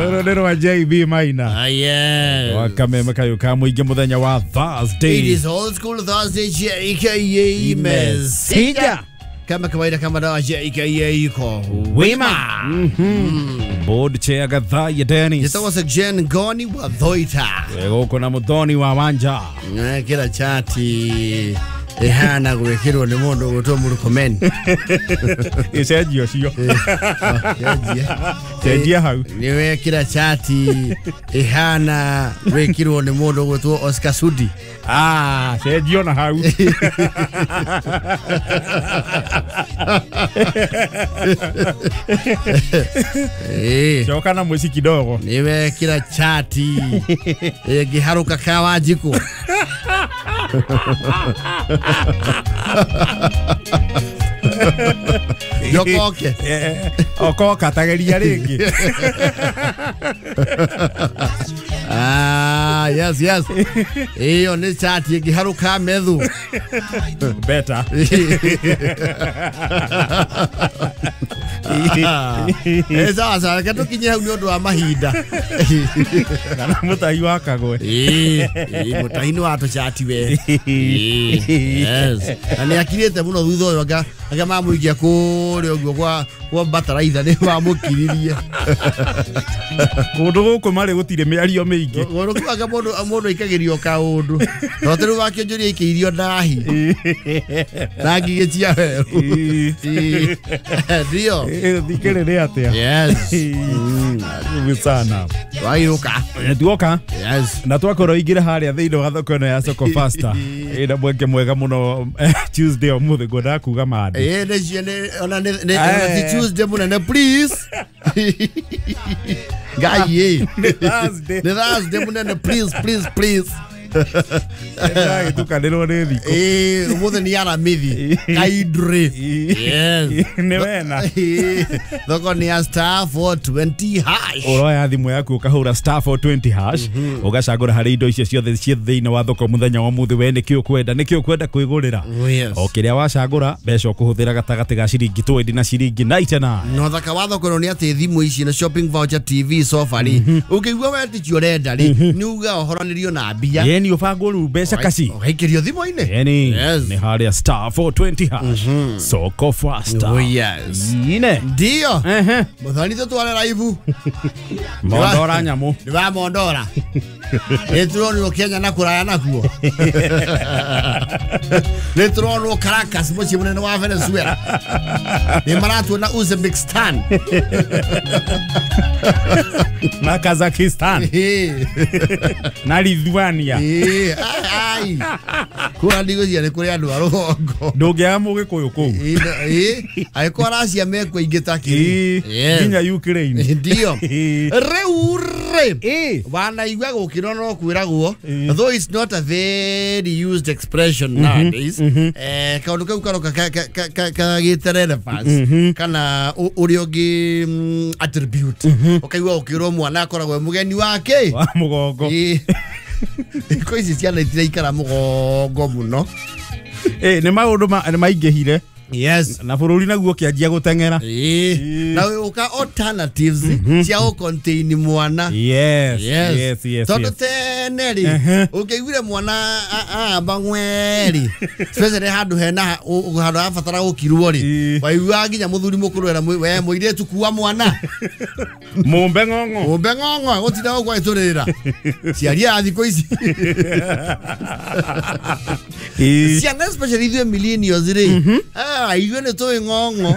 Rũrũ rwa JB Maina. Ah, yes. Wakameme kayo ka mũingĩ mũthenya wa Thursday. It is old school Thursday, JKA Mesija. Kama kawaida, kama dawa, JKA yuko Wima. Board chair Gathaya Dennis. Jitagwo Jen Ngoni wa Thoita. Gũkũ na Muthoni wa Wanja. Kĩra chati ihana gwĩkĩrwo nĩ mũndũ ũgwĩtwo Murkomen. Ĩcenjio cio. Cenjia hau. Nĩ wekĩra chati ihana gwĩkĩrwo nĩ mũndũ ũgwĩtwo Oscar Sudi. Ah, cenjio na hau. Coka na mũici kidogo. Nĩ wekĩra chati ĩngĩharũka ka Wanjikũ. Jokoke. Okoka tageria rĩngĩ. Ah, yes, yes. Iyo nĩ chati ĩngĩharũka methu. Better. Sawa sawa, reke tũkinye hau nĩ ũndũ wa mahinda. Kana mũtahi wa kagwe. Mũtahi nĩ wa tũchati we. Yes. Na nĩ akirĩte mũno thutha ũyũ anga mamũikia kũrĩa ũguo kwa bataraitha nĩ mamũkiririe. Kũndũ gũkũ marĩ gũtirĩ mĩario mĩingĩ. Kũndũ kũu anga mũndũ aikagĩrio kaũndũ. No ta rĩu wakĩonjoria aikĩirio ndahi. Na ngigĩ cia werũ. Ndio. Thikĩrĩ nĩ atĩa? Yes. Sana. Waiũka. Tuoka. Yes. Na twakorwo ingĩra harĩa thĩinĩ wa thoko ĩno ya Soko Faster. Ĩna mweke mwega mũno Tuesday ũmũthĩ ngwendaga kuga mandi. Ona nĩ Tuesday mũnene please. Ngai. Nĩ Thursday. Nĩ Thursday mũnene please please please. Ndĩragĩtukanĩrwo nĩ thikũ. Ũmũthĩ nĩ Aramithi. Kaindri. Yes. Nĩ wena. Thoko nĩ ya star 420 hash. Ũroya thimũ yaku ũkahũra star 420 hash. Ũgacagũra harĩ indo icio ciothe ciĩ thĩinĩ wa thoko mũthenya wa ũmũthĩ we nĩkĩ ũkwenda nĩkĩ ũkwenda kwĩgũrĩra. O kĩrĩa wacagũra mbeca ũkũhũthĩra gatagatĩ ga ciringi 20 na ciringi 99. No thaka wa thoko ĩno nĩ atĩ thimũ ici na shopping voucher TV sofa rĩ ũngĩigua we ti ũrenda rĩ nĩ uga ũhoranĩrio na mbia. Yeni ũbangwo rĩu mbeca kaci. Ũgaikĩrio thimũ-inĩ. Yeni nĩ harĩa star 420 hash. Soko Faster. Oh yes. Ine. Ndio. Mũthoni tũtware raibu. Mondora nyamũ. Nĩ wa Mondora. Nĩ tũronwo Kenya na kũraya nakuo. Nĩ tũronwo Caracas mũciĩ mũnene wa Venezuela. Nĩ maratuona Uzbekistan. Na Kazakhstan. Na Lithuania. Ai. Kũrĩa ndigũcia nĩ kũrĩ andũ a rũgongo. Ndũngĩaga mũgĩkũyũ kũu. Angĩkorwo Russia mekuo ingĩ ta kĩrĩ. Nginya Ukraine. Ndio. Rĩu rĩ wanaigua gũkĩrwo no kwĩragwo though it's not a very used expression nowadays. Kaũndũ kau karoka kagĩte relevance kana ũrĩa ũngĩ attribute. Ũkaigua ũkĩrwo mwana akoragwo e mũgeni wake wa mũgongo. Thikũ ici ciana itiraikara mũgongo mũno. Nĩ maũndũ maingĩhire. Yes. Na bũrũri naguo ũkĩanjia gũteng'era. Na ũka alternatives cia gũcontain mwana. Yes. Yes, yes. Tondũ tene rĩ ũngĩaiguire mwana amba ng'we rĩ especially handũ hena handũ harabatara gũkirwo rĩ waiguaga nginya mũthuri mũkũrũ era we mũirĩtu kua mwana. Mũmbe ng'ong'o. Mũmbe ng'ong'o gũtinda gũkũ agĩtũrĩrĩra. Ciari a thikũ ici. Ciana especially ithuĩ millennials rĩ ithuĩ nĩ tũĩ ng'ong'o.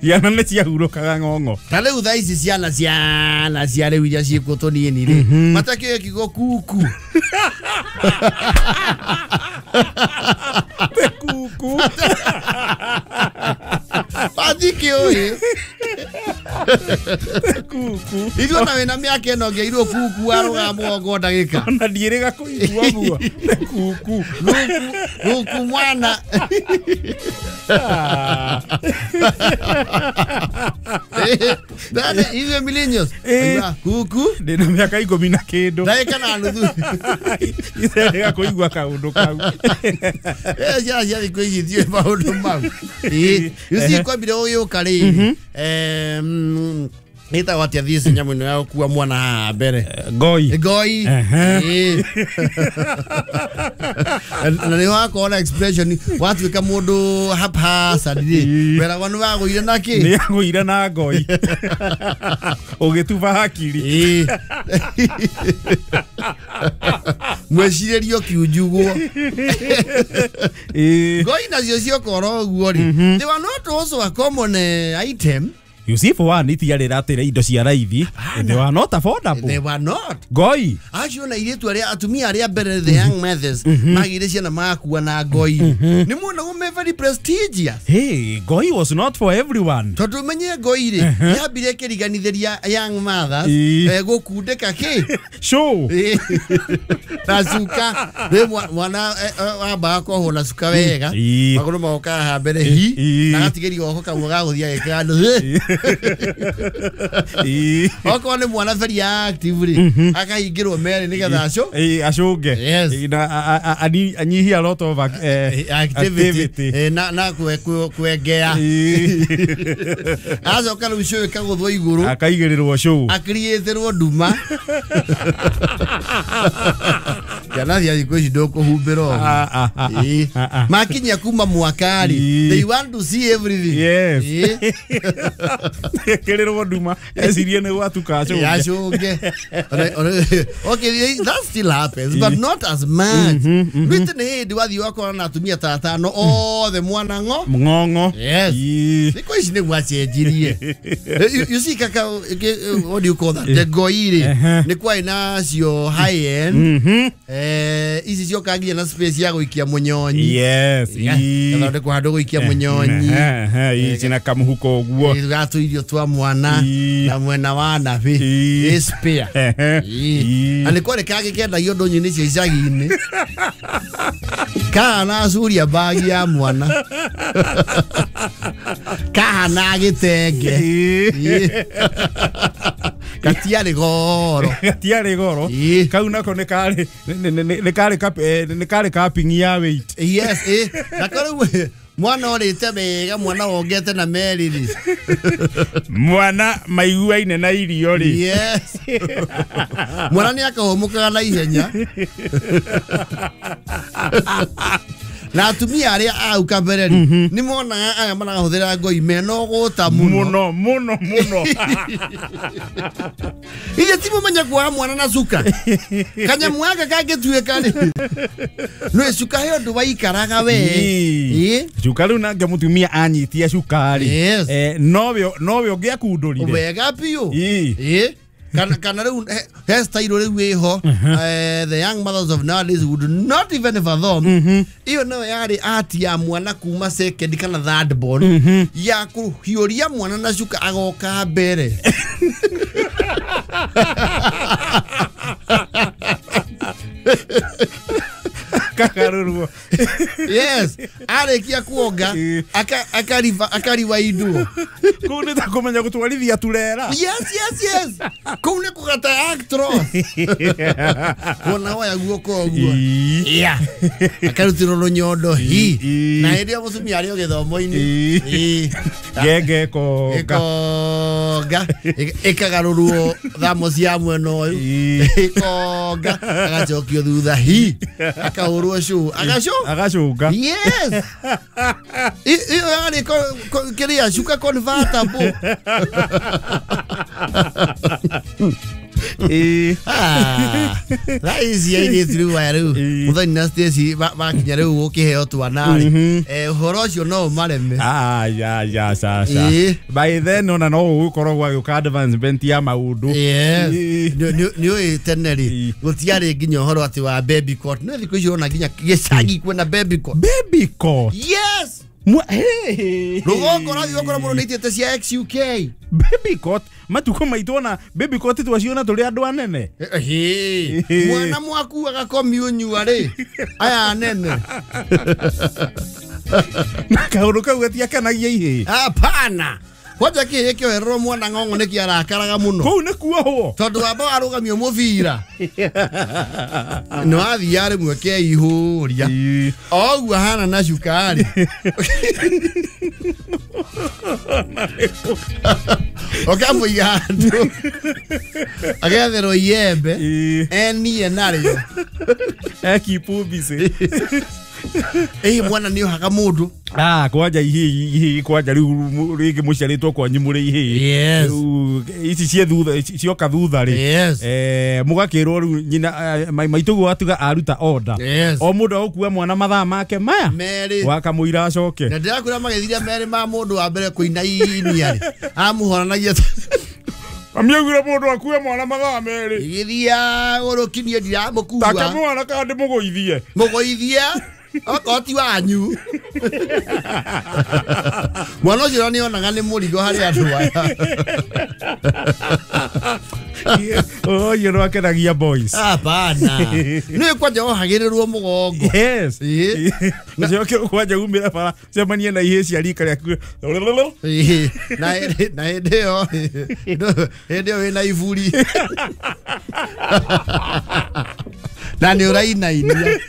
Ciana nĩ ciahurũkaga ng'ong'o. Ta rĩu thaa ici ciana ciana cia rĩu iria ciĩkuo tũnini rĩ matakĩũĩ kiugo kuku. Kuku. Matikĩũĩ. Kuku. Ithuĩ ona wĩna mĩaka ĩno ũngĩairwo kuku warũgama mũgongo ndagĩka. Ona ndiĩrĩga kũigua ũguo. Kuku. Kuku mwana. Dada ithuĩ millennials. Kuku. Ndĩna mĩaka 10 na kĩndũ. Ndagĩka na nuthu. Iterĩga kũigua kaũndũ kau. Ciana cia thikũ ici itiũĩ maũndũ mau. You see kwambire gũgĩũka rĩ Nĩtagwo atĩa thiĩ nyamũ ĩno ya gũkua mwana haha mbere? Ngoi. Ngoi. Na nĩ wakorwo na expression watuĩka mũndũ haphazard rĩ, weragwo nĩ wagũire na kĩ? Nĩ agũire na ngoi. Ũgĩtuba hakiri. Mwĩcirĩrio kiunjugwo. Ngoi nacio ciokorwo ũguo rĩ, they were not also a common item. You see, for one, itiarĩ ratĩra indo cia raithi. They were not affordable. They were not. Ngoi. Acio na irĩtu arĩa atumia arĩa mbere, the young mothers, magire ciana makua na ngoi. Nĩ muonagwo me very prestigious. Hey, ngoi was not for everyone. Tondũ menye ngoi rĩ, yambire kĩriganithĩria young mothers gũkundĩka kĩ? Show. Na cuka. Rĩ mwana wambaga kuohwo na cuka wega. Magũrũ magoka haha mbere hi. Na agatigĩrio goko kamwe ga gũthiĩ agĩkaga andũ. Okorwo nĩ mwana very active rĩ, akahingĩrwo merĩ nĩgetha aco acũnge. Na anyihie a lot of activity. Na kwengea. Acoka rĩu cũĩ kagũthwo igũrũ. Akaigĩrĩrwo cũũ. Akiriĩtĩrwo nduma. Ciana cia thikũ ici ndũkũhumbĩra ũguo. Makinyia kuma mwaka rĩ, they want to see everything. Yes. Kĩrĩrwo nduma ecirie nĩ gwatuka acũnge. Acũnge. Okay, that still happens, but not as much. Rĩtĩ nĩ hĩndĩ wathiĩ wakora na atumia ta atano othe mwana ng'o. Ng'ong'o. Yes. Thikũ ici nĩ gwacenjirie. You see kaka, what do you call that? The ngoi rĩ, nĩ kwarĩ nacio high end. Ici cioka nginya na space ya gũikia mũnyonyi. Yes. Gathondekwo handũ gũikia mũnyonyi. Ici na kamũhuko ũguo. Gatũirio twa mwana na mwena wa nabi. Ĩ spare. Na nĩ kwarĩ kangĩ kendagio ndũnyũ-inĩ cia icagi-inĩ. Kahana curia bagi ya mwana. Kahana gĩtenge. Gatiarĩ goro. Gatiarĩ goro. Kau nako nĩ karĩ nĩ karĩ cupping ya weight. Yes, nako rĩu mwana ũrĩte wega, mwana wongete na meri rĩ. Mwana maiguaine na irio rĩ. Yes. Mwana nĩ akahũmũkaga na ihenya. Na atumia arĩa au kabere rĩ, nĩ monaga aya marahũthĩra ngoi mena ũgũta mũno. Mũno mũno mũno. Ithe ti mũmenye kuoha mwana na cuka. Kanyamũ gaka kangĩtuĩka rĩ, nĩ cuka he ũndũ waikaraga we. Cuka rĩu nake mũtumia anyitia cuka rĩ, nowe ũngĩakundũrire. Wega biũ. Kana rĩu he style rĩu ĩho, the young mothers of nowadays would not even fathom. Iyo nayo yarĩ art ya mwana kuma second kana third born, ya kũhiũria mwana na cuka agoka mbere. Kakarurwo. Yes, arĩkia kuonga akariwaindwo. Kũu nĩ ta kũmenya gũtwarithia turera. Yes, yes, yes. Kũu nĩ kũgata actros. Wona woya guoko ũguo. Yeah. Akarutĩrwo rũnyondo hi. Na hĩndĩ ĩyo mũtumia arĩ o gĩthomo-inĩ. Ngenge ĩkonga. Ĩkonga. Ĩkagarũrwo thamo cia mwena ũyũ. Ĩkonga. Agacokio thutha hi. Akahũrwo cũ. Agacũ? Agacũnga. Yes. Iyo yarĩ kĩrĩa cuka convertible. Thaa ici airĩtu rĩu aya rĩu Mũthoni na Stacy makinya rĩu gũkĩheo twana rĩ, ũhoro ũcio no ũmareme. Ya ca. By then ona no ũgũkorwo gwagĩũka advancement ya maũndũ. Yes. Nĩ ũĩ tene rĩ, gũtiarĩ nginya ũhoro atĩ wa baby court. Nĩ thikũ ici ũrona nginya gĩcagi kwĩna baby court. Baby court? Yes. Rũgongo ũrathiĩ ũgakora mũndũ nĩaitĩte cia XUK. Baby court? Matukũ maitũ ona baby court twaciona tũrĩ andũ anene. Mwana mwaku agakomiũnyua rĩ, aya anene. Na kaũndũ kau gatiakanagia ihĩĩ. Hapana. Kwanja kĩhĩ kĩohererwo mwana ng'ong'o nĩkĩ arakaraga mũno. Kũu nĩ kuohwo. Tondũ wamba warũgamio mũbira. Nĩ wathiaga rĩmwe keihũria. Oguo ahana na cukari. Ũkamũiga handũ. Agetherwo iembe. Enie narĩo. Ekipu busy. Mwana nĩ ohaga mũndũ. Kwanja ihĩ kwanja rĩu rĩngĩ mũciarĩtwo kwanyu mũrĩ ihĩ. Yes. Ici cie thutha cioka thutha rĩ. Yes. Mũgakĩrwo rĩu nyina maitũguo atuga aruta order. Yes. O mũndũ agũkua mwana mathaa make maya. Merĩ. Wakamũira acoke. Na ndĩrakwĩra magĩthiria merĩ ma mũndũ wa mbere kũinainia rĩ. Amũhoranagia. Amiaugire mũndũ akue mwana mathaa merĩ. Igĩthiaga gũrũkinie ndiramũkua. Take mwana kana ndĩmũgũithie. Mũgũithie. Okorwo ti wanyu. Mwana ũcio nĩ onaga nĩ mũrigo harĩ andũ aya. Ũyũ nĩ wakenagia boys. Hapana. Nĩ kwanja wohagĩrĩrwo mũgongo. Yes. Ũcoke kwanja umĩre bara cemanie na ihĩ cia rika rĩaku. Na hĩndĩ ĩyo hĩndĩ ĩyo wĩna iburi. Na nĩ ũrainainia.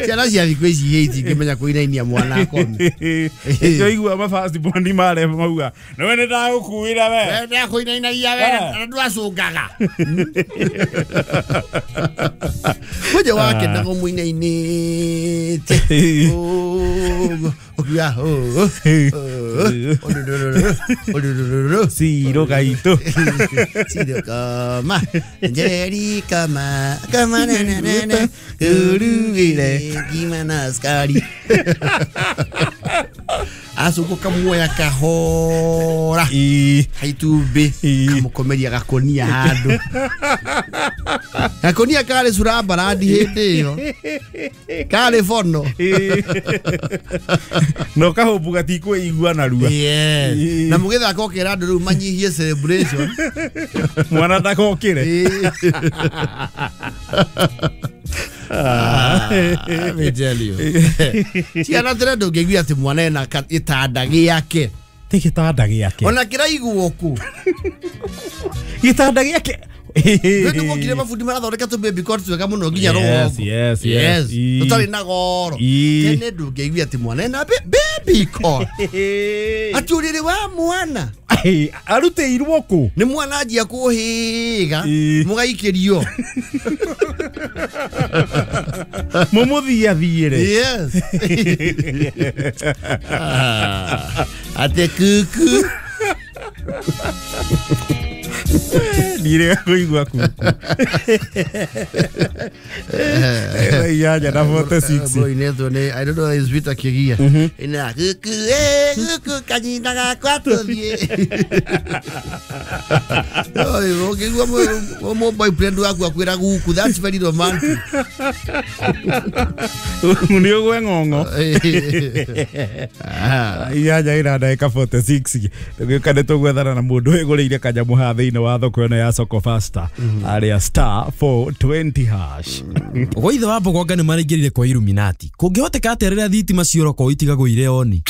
Ciana cia thikũ ici itingĩmenya kũinainia mwana akome. Ĩcio mabasti bondi mare mauga nĩwe nĩ ndagũkuĩra we. We ndakũinainagia we na ndwacũngaga. Kwanja wakenaga mũinainĩte. Ũkiuga Ciro gaitũ. Ciro kama Njeri kama kama na na na na kuruire gima na askari. Acũkũ kamuoya kahora. Haitumbĩ kamũkomeria gakonia handũ. Gakonia karĩ cura mbarandi hĩndĩ ĩyo. Karĩ bono. No kahũmbu gatikwĩigua narua. Yes. Na mũgĩthaka ũkĩra andũ rĩu manyihie celebration. Mwana ndakokĩre. Let me tell you. Ciana tene ndũngĩigua atĩ mwana ena gĩtanda gĩake. Ti gĩtanda gĩake. Ona kĩraigwo kũ. Gĩtanda gĩake. Nĩ wokire mabundi marathondeka tũ baby cot twega mũno nginya rũgongo. Yes, yes, yes. Tũtarĩ na goro. Tene ndũngĩigua atĩ mwana ena baby cot. Atĩ ũrĩrĩ wa mwana. Arutĩirwo kũ? Nĩ mwana anjia kũhĩga mũgaikĩrio. Mũmũthiathiĩre. Yes. Atĩ kuku. Ndirega kũigua kuku. Inyanya na 46. Boy netwo nĩ I don't know is Peter Kigia. Ina kuku kuku kanyina gakwa tũthiĩ. Ũkĩigua mũ boyfriend waku akwĩra guku, that's very romantic. Nĩ ũgwe ng'ong'o. Inyanya ina ndagĩka 46. Tũgĩũka nĩ tũgwethana na mũndũ wĩgũrĩire kanyamũ haha thĩinĩ wa thoko ĩno ya Soko Fasta arĩa star 420 hash. Gwa ithe wa Mbogonga nĩ maraingĩrire kwa Illuminati. Kũngĩhoteka atĩa rĩrĩa thitima ciora kwa itigagwo ire oni?